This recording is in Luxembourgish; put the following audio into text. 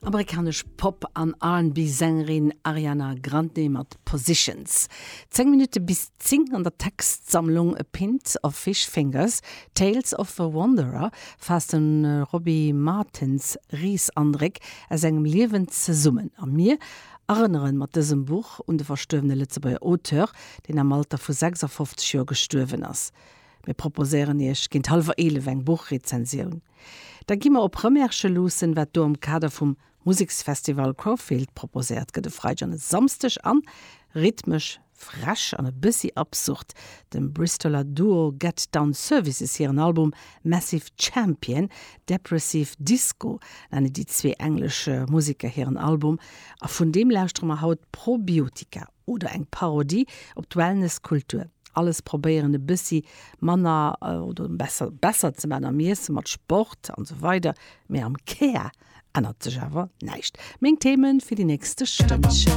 Amerikanesch Pop an R&B-Sängerin Ariana Grande mat Positions. 10 Minutte bis 10 an der Textsammlung A Pint of Fish Fingers, Tales of a Wanderer faasst de Robbie Martins Reesandréck aus sengem Liewen zesummen. A mir erënnere mat dësem Buch un de verstuerwene Lëtzebuerger Auteur, deen am Alter vu 56 Joer gestuerwen ass. Mir proposéieren Iech géint hallwer 11 eng Buchrezensioun. Da gi mer op Rëmersche luussen, wat do am Kader vum Museksfestival Crowfield proposéiert gëtt e Freideg an e Samsdeg an rhythmesch, frech an e bëssi absurd, dem Bristoler Duo Get Down Services hiren Album Massive Champion, Depressive Disco nennen déi zwee englesch Museker hiren Album a vun deem lauschtere mer haut Probiotika. Oder eng Parodie op d'Wellness-Kultur. Alles probéieren e bëssi manner oder besser besser ze man am Iessen, mat Sport an sou weider, mee am Kär ännert sech awer näischt. Meng Themen fir déi nächste Stënnchen.